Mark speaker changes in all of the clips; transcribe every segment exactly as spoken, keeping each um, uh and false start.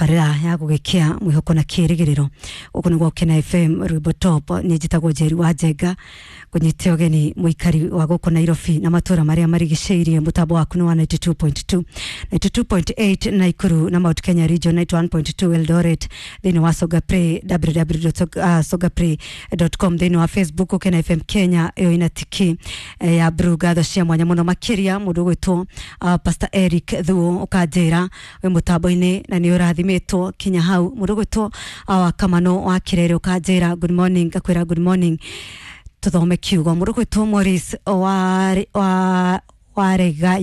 Speaker 1: Tabarĩra ya gũgĩkĩa mwĩhoko na kĩrĩgĩrĩro gũkũ nĩ Gũkena F M Rwĩmbo Top. Niĩ njĩtagwo Njeri wa Njenga, ngũnyite ũgeni mũikari wa gũkũ Nairobi na matũra marĩa marigicĩirie. Mũtambo waku nĩ wa ninety two point two, ninety two point eight Naikuru na Mount Kenya Region, ninety one point two Eldoret, thĩinĩ wa Songa Play, w w w dot songa play dot com, thĩinĩ wa Facebook Gũkena F M Kenya ĩyo ina tiki ya blue. Ngatho cia mwanya mũno makĩria mũndũ ũgwĩtwo uh, Pastor Eric Thuo, ũkanjĩra wĩ mũtambo-inĩ na nĩ ũrathimĩtwo kinya hau. Mũndũ ũgwĩtwo uh, Kamano wa Kirere, ũkanjĩra good morning, ngakwĩra good morning. Tuthome kiugo. Mũndũ ũgwĩtwo Morris wa, wa warega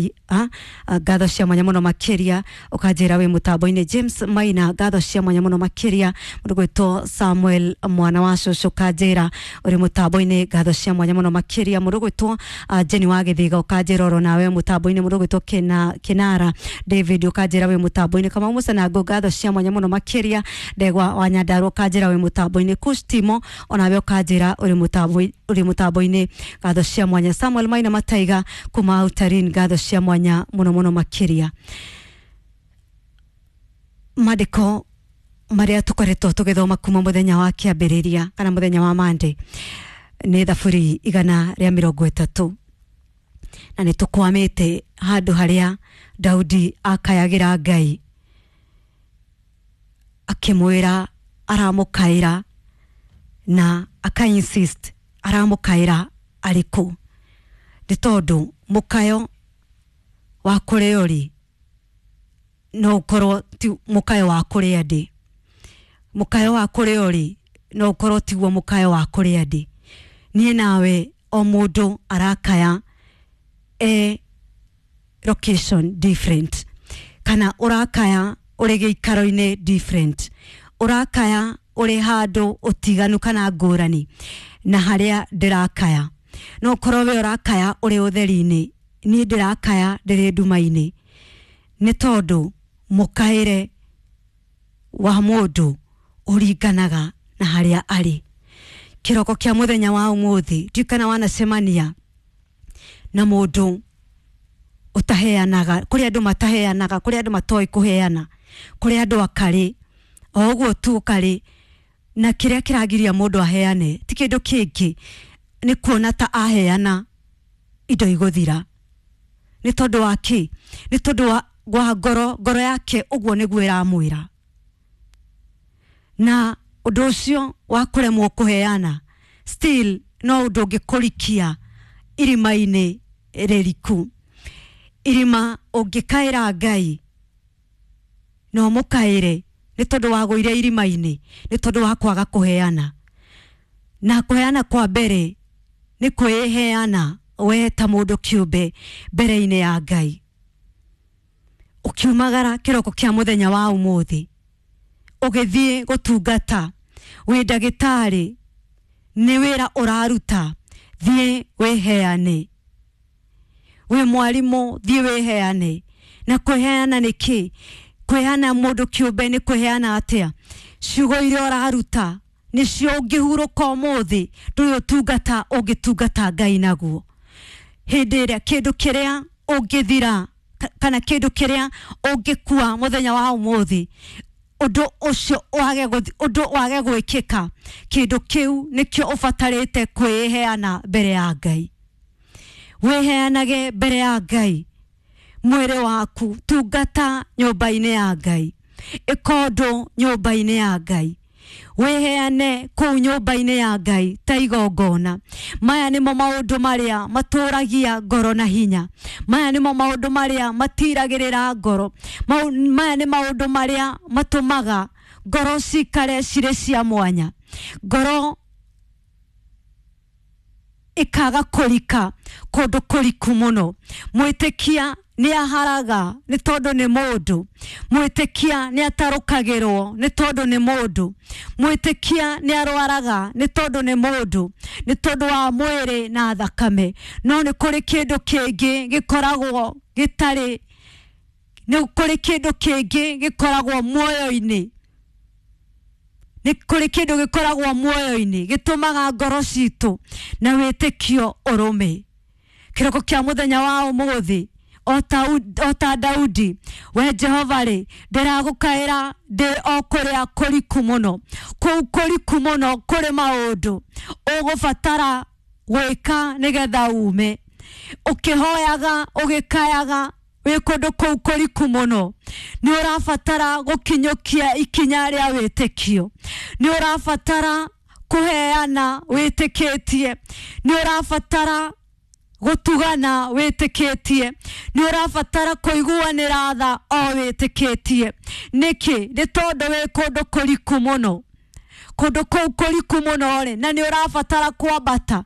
Speaker 1: ngatho cia mwanya mũno makĩria, ũkanjĩra wĩ mũtambo-inĩ. James Maina, ngatho cia mwanya mũno makĩria. Mũndũ ũgwĩtwo Samuel mwana wa cũcũ, ũkanjĩra ũrĩ mũtambo-inĩ, ngatho cia mwanya mũno makĩria. Mũndũ ũgwĩtwo Jenny wa Gĩthiga, ũkanjĩra oro nawe mũtambo-inĩ. Mũndũ ũgwĩtwo Kena, Kinara David, ũkanjĩra wĩ mũtambo-inĩ. Kamau Mũcanango, ngatho cia mwanya mũno makĩria. Ndegwa wa Nyandarua, ũkanjĩra wĩ mũtambo-inĩ. Kustimo, onawe ũkanjĩra ũrĩ mũtambo ũrĩ mũtambo-inĩ, ngatho cia mwanya. Samuel Maina Mataiga kuma Utarin, ngatho cia mwanya muno muno makĩria. Mandĩko marĩa tũkoretwo tũgĩthoma kuma mũthenya wa kĩambĩrĩria kana mũthenya wa Monday nĩ thaburi igana rĩa mĩrongo ĩtatũ, na nĩ tũkwamĩte handũ harĩa Daudi akayagĩra Ngai akĩmwĩra aramũkaĩra na aka insist aramũkaĩra arĩkũ, nĩ tondũ mũkayo wa kũrĩa ũrĩ no ũkorwo ti mũkayo wa kũrĩa ndĩ, mũkayo wa kũrĩa ũrĩ no ũkorwo tiguo mũkayo wa kũrĩa ndĩ. Niĩ nawe o mũndũ arakaya e location different, kana ũrakaya ũrĩ gĩikaro-inĩ different, ũrakaya ũrĩ handũ ũtiganu kana ngũrani na harĩa ndĩrakaya. No ũkorwo we ũrakaya ũrĩ ũtheri-inĩ, niĩ ndĩrakaya ndĩrĩ nduma-inĩ, nĩ tondũ mũkaĩre wa mũndũ ũringanaga na harĩa arĩ. Kĩroko kĩa mũthenya wa ũmũthĩ ndiũĩ kana wanacemania na mũndũ ũtaheanaga. Kũrĩ andũ mataheanaga, kũrĩ andũ matoĩ kũheana, kũrĩ andũ akarĩ o ũguo tu ũkarĩ, na kĩrĩa kĩragiria mũndũ aheane ti kĩndũ kĩngĩ, nĩ kuona ta aheana indo igũthira. Nĩ tondũ wa kĩ? Nĩ tondũ wa, wa ngoro, ngoro yake ũguo nĩguo ĩramwĩra. Na ũndũ ũcio wa kũremwo kũheana still no ũndũ ũngĩkũrikia irima-inĩ rĩriku. Irima ũngĩkaĩra Ngai no mũkaĩre nĩ tondũ wagũire irima-inĩ, nĩ tondũ wa kwaga kũheana. Na kũheana kwa mbere nĩ kwĩheana we ta mũndũ kĩũmbe mbere-inĩ ya Ngai. Ũkiumagara kĩroko kĩa mũthenya wa ũmũthĩ ũgĩthiĩ gũtungata, wĩ ndagĩtarĩ, nĩ wĩra ũraruta, thiĩ wĩheane. Wĩ mwarimũ, thiĩ wĩheane. Na kwĩheana nĩ kĩ? Kwĩheana mũndũ kĩũmbe nĩ kwĩheana atĩa? Ciugo iria ũraruta nĩcio ũngĩhurũka ũmũthĩ, ndũrĩ ũtungata ũngĩtungata Ngai naguo. Hĩndĩ ĩrĩa kĩndũ kĩrĩa ũngĩthira kana kĩndũ kĩrĩa ũngĩkua mũthenya wa ũmũthĩ, ũndũ ũcio wage gũthi, ũndũ wage gwĩkĩka, kĩndũ kĩu nĩkĩo ũbatarĩte kwĩheana mbere ya Ngai. Wĩheanage mbere ya Ngai mwĩrĩ waku, tungata nyũmba-inĩ ya Ngai, ĩka ũndũ nyũmba-inĩ ya Ngai, wĩheane kũu nyũmba-inĩ ya Ngai ta igongona. Maya nĩmo maũndũ marĩa matũragia ngoro na hinya, maya nĩmo maũndũ marĩa matiragĩrĩra ngoro, maya nĩ maũndũ marĩa matũmaga ngoro cikare cirĩ cia mwanya, ngoro ikaga kũrika kũndũ kũriku mũno. Mwĩtĩkia nĩ aharaga nĩ tondũ nĩ mũndũ, mwĩtĩkia nĩ atarũkagĩrwo nĩ tondũ nĩ mũndũ, mwĩtĩkia nĩ arwaraga nĩ tondũ nĩ mũndũ, nĩ tondũ wa mwĩrĩ na thakame. No nĩ kũrĩ kĩndũ kĩngĩ gĩkoragwo gĩtarĩ, nĩ kũrĩ kĩndũ kĩngĩ gĩkoragwo muoyo-inĩ, nĩ kũrĩ kĩndũ gĩkoragwo muoyo-inĩ gĩtũmaga ngoro citũ na wĩtĩkio ũrũme. Kĩroko kĩa mũthenya wa ũmũthĩ o ta Daudi. We Jehova rĩ, ndĩragũkaĩra ndĩ o kũrĩa kũriku mũno, kũu kũriku mũno kũrĩ maũndũ ũgũbatara gwĩka nĩgetha ume. Ũkĩhoyaga ũgĩkayaga wĩ kũndũ kũu kũriku mũno, nĩ ũrabatara gũkinyũkia ikinya rĩa wĩtĩkio, nĩ ũrabatara kũheana wĩtĩkĩtie, nĩ ũrabatara gũtugana wĩtĩkĩtie, nĩ ũrabatara kũiguanĩra tha o wĩtĩkĩtie. Nĩkĩ? Nĩ tondũ wĩ kũndũ kũriku mũno, kũndũ kũu kũriku mũno rĩ, na nĩ ũrabatara kwambata.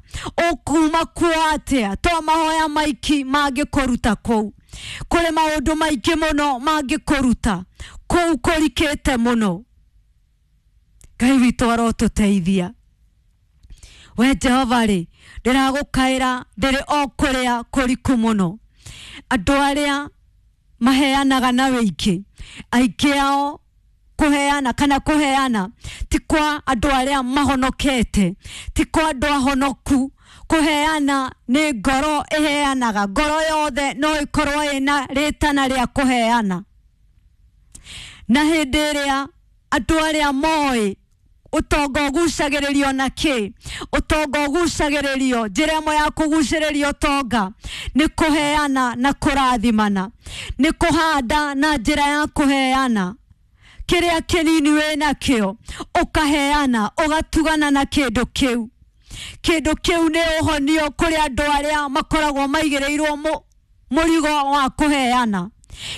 Speaker 1: Ũkuma kuo atĩa? To mahoya maiki mangĩkũruta kũu, kũrĩ maũndũ maingĩ mũno mangĩkũruta kũu kũrikĩte mũno. Ngai witũ arotũteithia. We Jehova rĩ, ndĩragũkaĩra ndĩrĩ o kũrĩa kũriku mũno. Andũ arĩa maheanaga na wĩingĩ, aingĩ ao kũheana kana kũheana ti kwa andũ arĩa mahonokete, ti kwa andũ ahonoku. Kũheana nĩ ngoro ĩheanaga, ngoro yothe no ĩkorwo ĩna rĩtana rĩa kũheana. Na hĩndĩ ĩrĩa andũ arĩa moĩ ũtonga ũgucagĩrĩrio na kĩ, ũtonga ũgucagĩrĩrio, njĩra ĩmwe ya kũgucĩrĩria ũtonga nĩ kũheana na kũrathimana, nĩ kũhanda na njĩra ya kũheana. Kĩrĩa kĩnini wĩnakĩo ũkaheana, ũgatugana na kĩndũ kĩu. Kĩndũ kĩu nĩ ũhonio kũrĩ andũ arĩa makoragwo maigĩrĩirwo mũrigo wa kũheana.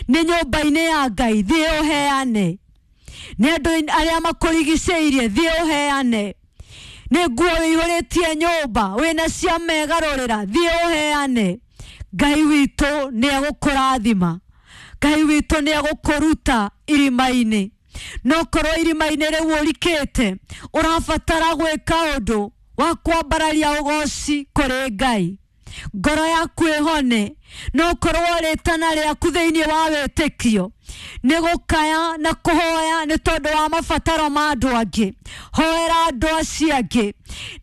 Speaker 1: Nĩ nyũmba-inĩ ya Ngai, thiĩ ũheane. Nĩ andũ arĩa makũrigicĩirie, thiĩ ũheane. Nĩ nguo wĩihũrĩtie nyũmba wĩna cia megarũrĩra, thiĩ ũheane. Ngai witũ nĩ egũkũrathima, Ngai witũ nĩ egũkũruta irima-inĩ. No korwo irima-inĩ rĩu ũrikĩte, ũrabatara gwĩka ũndũ wa kwambararia ũgoci kũrĩ Ngai, ngoro yaku ĩhone. No korwo rĩtana rĩaku thĩinĩ wa wĩtĩkio nĩ gũkaya na kũhoya nĩ tondũ wa mabataro ma andũ angĩ, hoera andũ acio angĩ,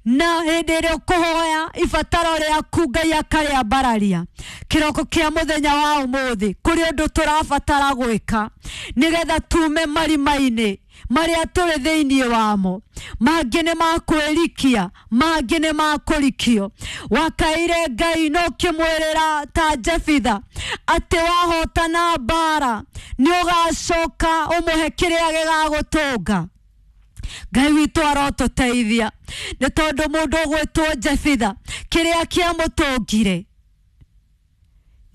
Speaker 1: na hĩndĩ ĩrĩa ũkũhoya ibataro rĩaku Ngai akarĩambararia. Kĩroko kĩa mũthenya wa ũmũthĩ kũrĩ ũndũ tũrabatara gwĩka nĩgetha tume marima-inĩ marĩa tũrĩ thĩinĩ wamo. Mangĩ nĩ makwĩrikia, mangĩ nĩ makũrikio. Wakaire Ngai no ũkĩmwĩrĩra ta Jefitha atĩ wahotana mbara nĩ ũgacoka ũmũhe kĩrĩa gĩgagũtũnga. Ngai witũ arotũteithia, nĩ tondũ mũndũ ũgwĩtwo Jefitha kĩrĩa kĩamũtũngire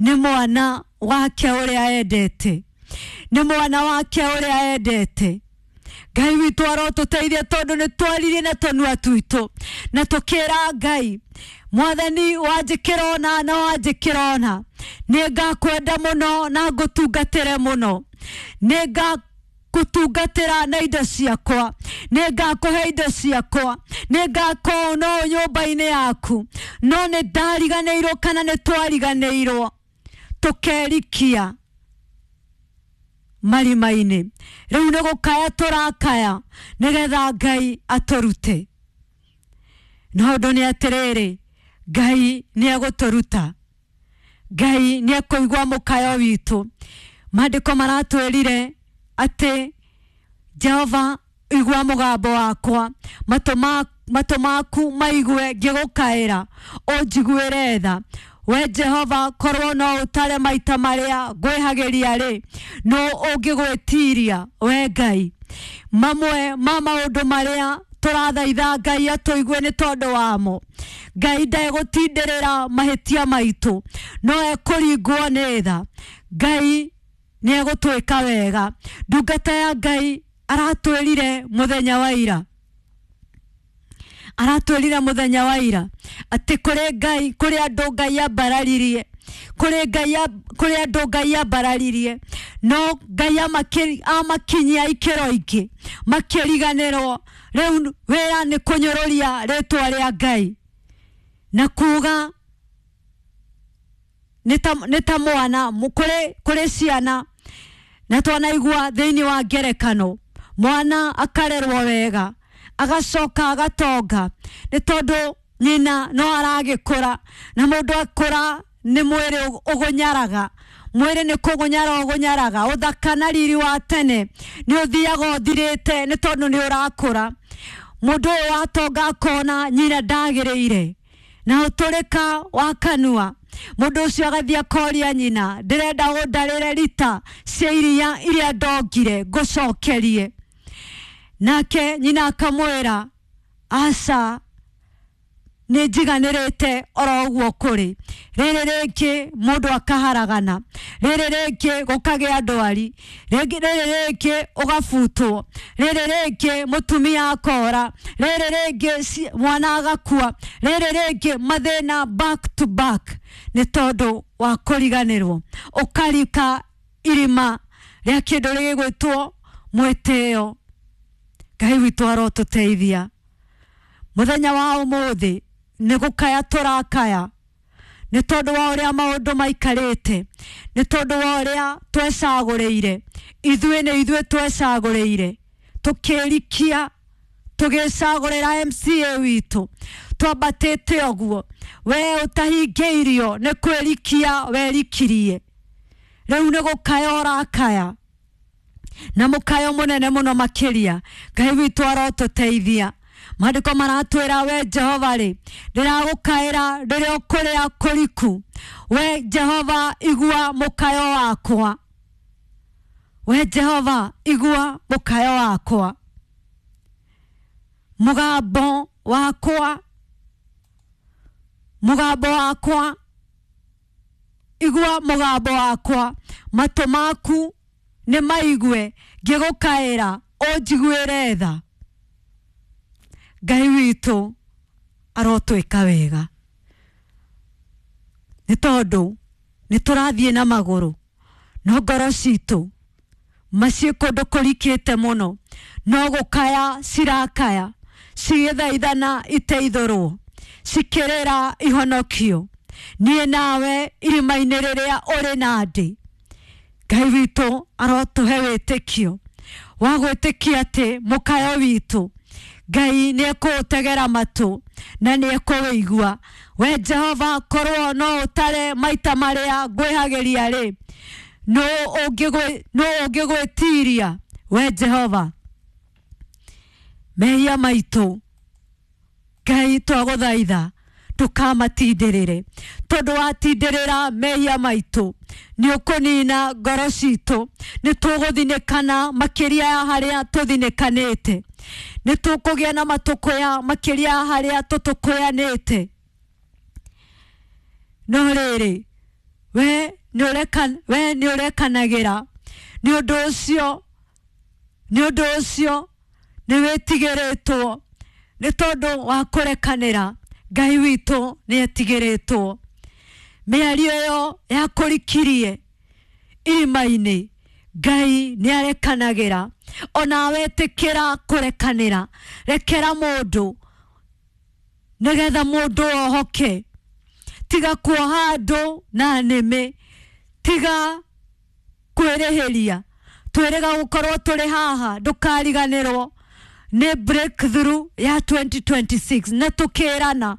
Speaker 1: nĩ mwana wake ũrĩa endete, nĩ mwana wake ũrĩa endete. Ngai witũ arotũteithia tondũ nĩ twaririe na tũnua twitũ na tũkĩra Ngai, Mwathani wanjĩkĩra ũna na wanjĩkĩra ũna, nĩ ngakwenda mũno na ngũtungatĩre mũno, nĩ ngakũtungatĩra na indo ciakwa, nĩ ngakũhe indo ciakwa, nĩ ngakorwo no nyũmba-inĩ yaku. No nĩ ndariganĩirwo kana nĩ twariganĩirwo tũkerikia marima-inĩ. Rĩu nĩ gũkaya tũrakaya nĩgetha Ngai atũrute. No ũndũ nĩ atĩrĩrĩ, Ngai nĩ egũtũruta, Ngai nĩ ekũigua mũkayo witũ. Maandĩko maratwĩrire atĩ Jehova igua mũgambo wakwa, matũ maku maigue ngĩgũkaĩra, ũnjiguĩre tha. We Jehova korwo no ũtare maita marĩa ngwĩhagĩria rĩ, no ũngĩgwĩtiria we Ngai. Mamwe ma maũndũ marĩa tũrathaitha Ngai atũigue nĩ tondũ wamo, Ngai ndegũtindĩrĩra mahĩtia maitũ, no ekũringwo nĩ tha. Ngai nĩ egũtwĩka wega. Ndungata ya Ngai aratwĩrire mũthenya wa ira, aratwĩrire mũthenya wa ira atĩ kũrĩ Ngai, kũrĩ andũ Ngai ambararirie, kũrĩ Ngai, kũrĩ andũ Ngai ambararirie, no Ngai amakinyia ikĩro ingĩ makĩriganĩrwo. Rĩu wĩra nĩ kũnyũrũria rĩtwa rĩa Ngai na kuga nĩ ta mwana kũrĩ kũrĩ ciana, na twanaigua thĩinĩ wa ngerekano mwana akarerwo wega agacoka agatonga nĩ tondũ nyina no aragĩkũra, na mũndũ akũra nĩ mwĩrĩ ũgũnyaraga, Mwĩrĩ nĩ kũgũnyara ũgũnyaraga, ũthaka na riri wa tene nĩ ũthiaga ũthirĩte nĩ tondũ nĩ ũrakũra. Mũndũ ũyũ watonga akona nyina ndagĩrĩire na ũtũrĩka wa kanua. Mũndũ ũcio agathiĩ akoria nyina, ndĩrenda ũndarĩre rita cia iria iria ndongire ngũcokerie. Nake nyina akamwĩra, aca, nĩ njiganĩrĩte oro ũguo kũrĩ. Rĩrĩ rĩngĩ mũndũ akaharagana, rĩrĩ rĩngĩ gũkagĩa ndwari, rĩngĩ rĩrĩ rĩngĩ ũgabutwo, rĩrĩ rĩngĩ mũtumia akora, rĩrĩ rĩngĩ mwana agakua, rĩrĩ rĩngĩ mathĩna back to back nĩ tondũ wa kũriganĩrwo. Ũkarika irima rĩa kĩndũ gĩgwĩtwo mwĩtĩo. Ngai witũ arotũteithia. Mũthenya wa ũmũthĩ nĩ gũkaya tũrakaya nĩ tondũ wa ũrĩa maũndũ maikarĩte, nĩ tondũ wa ũrĩa twecagũrĩire. Ithuĩ nĩ ithuĩ twecagũrĩire, tũkĩrikia tũgĩcagũrĩra M C A witũ, twambatĩte ũguo. We ũtahingĩirio nĩ kwĩrikia werikirie, rĩu nĩ gũkaya ũrakaya na mũkayo mũnene mũno makĩria. Ngai witũ arotũteithia. Maandĩko maratwĩra, we Jehova rĩ, ndĩragũkaĩra rĩrĩa ũkũrĩa kũriku. We Jehova, igua mũkayo wakwa. We Jehova, igua mũkayo wakwa. Mũgambo wakwa, mũgambo wakwa, igua mũgambo wakwa. Matũ maku nĩ maigue ngĩgũkaĩra, ũnjiguĩre tha. Ngai witũ arotwĩka wega nĩ tondũ nĩ tũrathiĩ na magũrũ, no ngoro citũ maciĩ kũndũ kũrikĩte mũno, no gũkaya cirakaya, cigĩthaithana iteithũrwo, cikĩrĩra ihonokio. Niĩ nawe irima-inĩ rĩrĩa ũrĩ na ndĩ, Ngai witũ arotũhe wĩtĩkio wa gwĩtĩkia atĩ mũkayo witũ Ngai nĩ ekũũtegera matũ na nĩ ekũwĩigua. We Jehova, korwo no ũtare maita marĩa ngwĩhagĩria rĩ, nũ ũngĩgwĩtiria? We Jehova, mehia maitũ Ngai twagũthaitha ndũkamatindĩrĩre, tondũ watindĩrĩra mehia maitũ nĩ ũkũnina ngoro citũ, nĩ tũgũthinĩkana makĩria ya harĩa tũthinĩkanĩte, nĩ tũkũgĩa na matũkũya makĩria ya harĩa tũtũkũyanĩte. No rĩrĩ, we nĩ ũrekanagĩra, nĩ ũndũ ũcio nĩ ũndũ ũcio nĩ wĩtigĩrĩtwo nĩ tondũ wa kũrekanĩra. Ngai witũ nĩ etigĩrĩtwo. Mĩario ĩyo yakũrikirie irima-inĩ, Ngai nĩ arekanagĩra. Ona wetĩkĩra kũrekanĩra, rekera mũndũ nĩgetha mũndũ ohoke. Tiga kuoha andũ na nĩmĩ, tiga kwĩrĩhĩria. Twĩrĩga gũkorwo tũrĩ haha, ndũkariganĩrwo nĩ breakthrough ya twenty twenty-six. Na tũkĩrana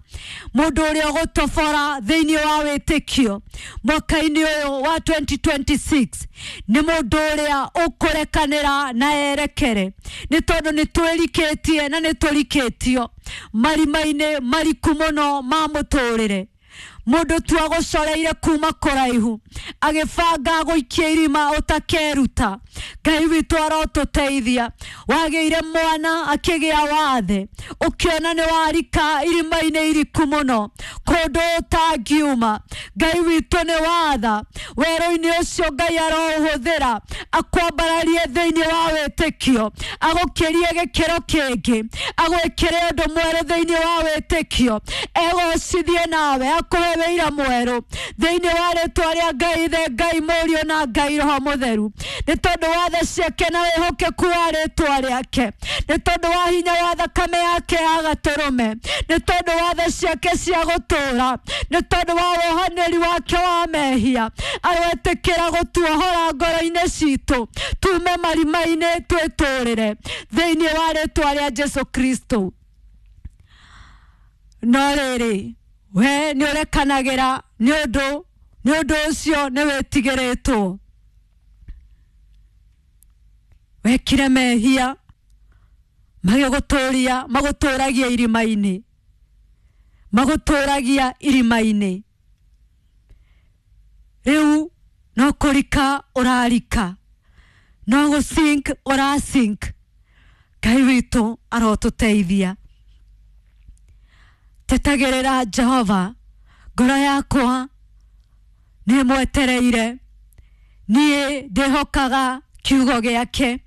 Speaker 1: mũndũ ũrĩa ũgũtobora thĩinĩ wa wĩtĩkio mwaka-inĩ ũyũ wa twenty twenty-six nĩ mũndũ ũrĩa ũkũrekanĩra na erekere, nĩ tondũ nĩ twĩrikĩtie na nĩ tũrikĩtio marima-inĩ mariku mũno ma mũtũrĩre. Mũndũ tu agũcoreire kuma kũraihu agĩbanga gũikia irima ũtakeruta. Ngai witũ arotũteithia. Wagĩire mwana akĩgĩa wathe, ũkĩona nĩ warika irima-inĩ iriku mũno kũndũ ũtangiuma. Ngai witũ nĩ watha werũ-inĩ ũcio Ngai aroũhũthĩra akwambararie thĩinĩ wa wĩtĩkio, agũkĩrie gĩkĩro kĩngĩ, agwĩkĩre ũndũ mwerũ thĩinĩ wa wĩtĩkio, egocithie nawe, akũhe wĩira mwerũ thĩinĩ wa rĩtwa rĩa Ngai Ithe, Ngai Mũriũ na Ngai Roho Mũtheru, nĩ tondũ wa tha ciake na wĩhokeku wa rĩtwa rĩake, nĩ tondũ wa hinya wa thakame yake ya gatũrũme, nĩ tondũ wa tha ciake cia gũtũũra, nĩ tondũ wa wohanĩri wake wa mehia. Aroetĩkĩra gũtuohora ngoro-inĩ citũ, tume marima-inĩ twĩtũrĩre thĩinĩ wa rĩtwa rĩa Jesu Kristo. No rĩrĩ, we nĩ ũrekanagĩra nĩ ũndũ Nĩ ũndũ ũcio nĩ wĩtigĩrĩtwo. Wekire mehia magĩgũtũria, magũtũragia irima-inĩ, magũtũragia irima-inĩ. Rĩu no kũrika ũrarika, no gũsink ũrasink. Ngai witũ arotũteithia. Tetagĩrĩra Jehova, ngoro yakwa nĩ mwetereire, niĩ ndĩhokaga kiugo gĩake.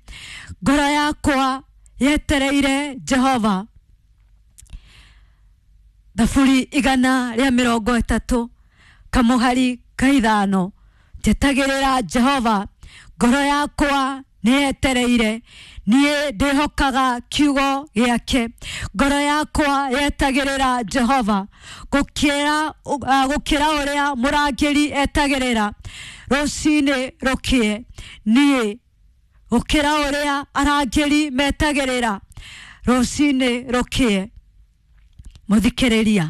Speaker 1: Ngoro yakwa yetereire Jehova. Thaburi igana rĩa mĩrongo ĩtatũ kamũhari ka ithano. Njetagĩrĩra Jehova, ngoro yakwa nĩ yetereire, niĩ ndĩhokaga kiugo gĩake. Ngoro yakwa yetagĩrĩra Jehova gũkĩra gũkĩra ũrĩa mũrangĩri etagĩrĩra rũcinĩ rũkĩe. Niĩ gũkĩra ũrĩa arangĩri metagĩrĩra rũcinĩ rũkĩe. Mũthikĩrĩria,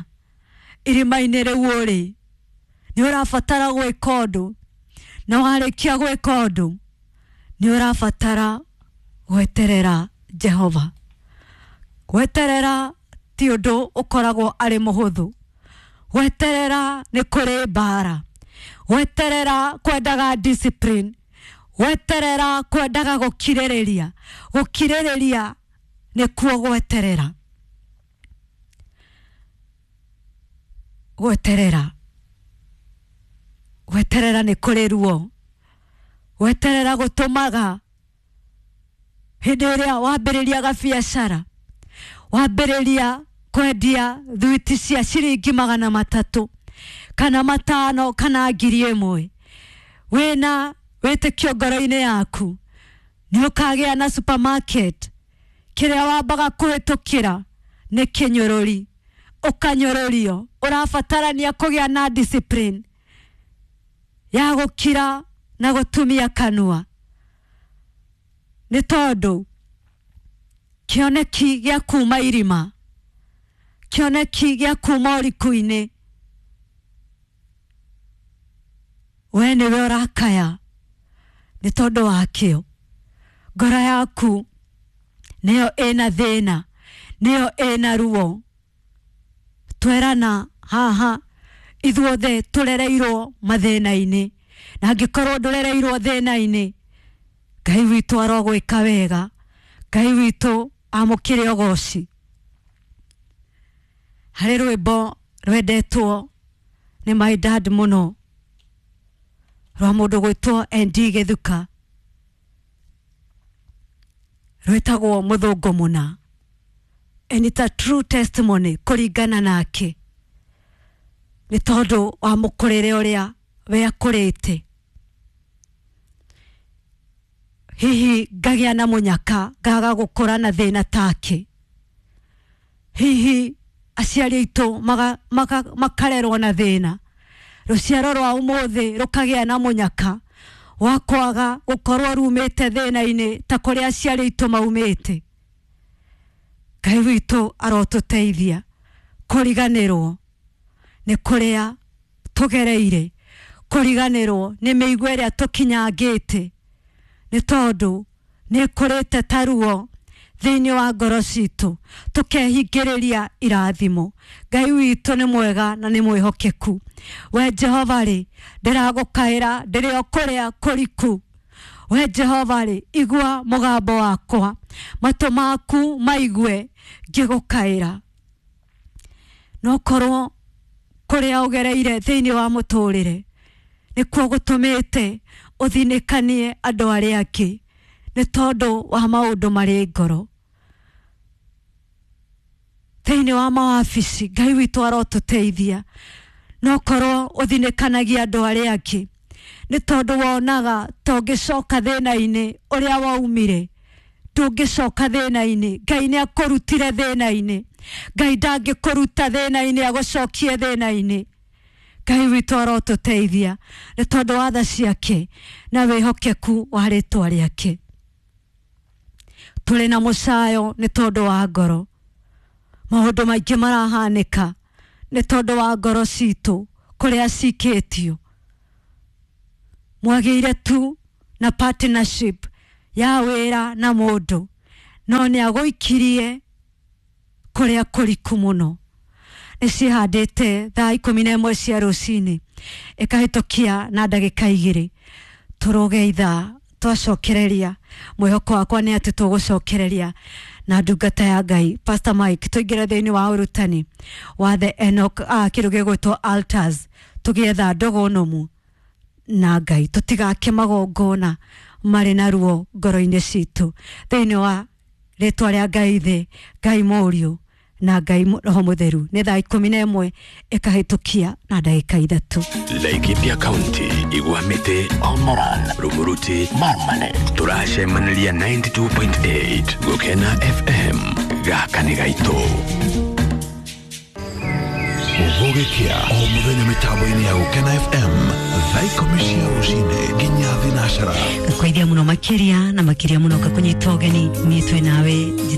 Speaker 1: irima-inĩ rĩu ũrĩ nĩ ũrabatara gwĩka ũndũ, na warĩkia gwĩka ũndũ nĩ ũrabatara gweterera Jehova. Gweterera ti ũndũ ũkoragwo arĩ mũhũthũ. Gweterera nĩ kũrĩ mbara. Gweterera kwendaga discipline. Gweterera kwendaga gũkirĩrĩria. Gũkirĩrĩria nĩkuo gweterera. Gweterera, gweterera nĩ kũrĩ ruo. Gweterera gũtũmaga hĩndĩ ĩrĩa wambĩrĩria gabiacara, wambĩrĩria kwendia thwiti cia ciringi magana matatũ kana matano kana ngiri ĩmwe, wĩna wĩtĩkio ngoro-inĩ yaku nĩ ũkagĩa na supermarket. Kĩrĩa wambaga kũhĩtũkĩra nĩ kĩnyũrũri, ũkanyũrũrio. Ũrabatarania kũgĩa na discipline ya gũkira na gũtumia kanua, nĩ tondũ kĩoneki gĩa kuma irima, kĩoneki gĩa kuma ũriku-inĩ, we nĩwe ũrakaya nĩ tondũ wakĩo. Ngoro yaku nĩyo ĩna thĩna, nĩyo ĩna ruo. Twerana haha ithuothe tũrereirwo mathĩna-inĩ, na angĩkorwo ndũrereirwo thĩna-inĩ, Ngai witũ arogwĩka wega. Ngai witũ amũkĩre ũgoci. Harĩ rwĩmbo rwendetwo nĩ my dad mũno, rwa mũndũ gwĩtwo N D Gĩthuka, rwĩtagwo Mũthũngũ Mũna. And it's a true testimony kũringana nake, nĩ tondũ wa mũkũrĩre ũrĩa we akũrĩte. Hihi ngagĩa na mũnyaka ngaga gũkũra na thĩna take. Hihi aciari aitũ makarerwo na thĩna, rũciaro rwa ũmũthĩ rũkagĩa na mũnyaka wa kwaga gũkorwo rumĩte thĩna-inĩ ta kũrĩa aciari aitũ maumĩte. Ngai witũ arotũteithia kũriganĩrwo nĩ kũrĩa tũgereire, kũriganĩrwo nĩ mĩigua ĩrĩa tũkinyangĩte, nĩ tondũ nĩ ĩkũrĩte ta ruo thĩinĩ wa ngoro citũ, tũkehingĩrĩria irathimo. Ngai witũ nĩ mwega na nĩ mwĩhokeku. We Jehova rĩ, ndĩragũkaĩra ndĩrĩ o kũrĩa kũriku. We Jehova rĩ, igua mũgambo wakwa, matũ maku maigue ngĩgũkaĩra. No korwo kũrĩa ũgereire thĩinĩ wa mũtũrĩre nĩkuo gũtũmĩte ũthinĩkanie andũ arĩa angĩ, nĩ tondũ wa maũndũ marĩ ngoro. Thĩinĩ wa mawabici, Ngai witũ arotũteithia. No korwo ũthinĩkanagia andũ arĩa angĩ nĩ tondũ wonaga tũngĩcoka thĩna-inĩ ũrĩa waumire, ndũngĩcoka thĩna-inĩ. Ngai nĩ akũrutire thĩna-inĩ. Ngai ndangĩkũruta thĩna-inĩ agũcokie thĩna-inĩ. Ngai witũ arotũteithia nĩ tondũ wa tha ciake na wĩhokeku wa rĩtwa rĩake. Tũrĩ na mũcayo nĩ tondũ wa ngoro. Maũndũ maingĩ marahanĩka nĩ tondũ wa ngoro citũ kũrĩa cikĩtio. Mwagĩire tu na partnership ya wĩra na mũndũ, no nĩ agũikirie kũrĩa kũriku mũno. Nĩ ciĩhandĩte thaa ikũmi na ĩmwe cia rũcinĩ ĩkahĩtũkia na ndagĩka igĩrĩ. Tũrũge ithaa twacokereria, mwĩhoko wakwa nĩ atĩ tũgũcokereria na ndungata ya Ngai Pastor Mike, tũingĩre thĩinĩ wa ũrutani wa the Enoch, ah, kĩndũ gĩgwĩtwo altars, tũgĩetha ndogo nomu na Ngai, tũtigake magongona marĩ na ruo ngoro-inĩ citũ. Thĩinĩ wa rĩtwa rĩa Ngai thĩ, Ngai Mũriũ na Ngai Roho Mũtheru. Nĩ thaa ikũmi na ĩmwe ĩkahĩtũkia na ndagĩka ithatũ.
Speaker 2: Laikipia County, Igwamĩtĩ, Olmoran, Rumuruti, Marmanet. Tũracemanĩria ninety two point eight Gũkena F M. Gaka nĩ gaitũ.
Speaker 3: Gũgĩkĩa o mũthenya mĩtambo-inĩ ya Gũkena F M thaa ikũmi cia rũcinĩ nginya thinacara.
Speaker 1: Ngakwaithia mũno makĩria na makĩria mũno ngakũnyita ũgeni. Niĩ twĩ nawe njĩtagwo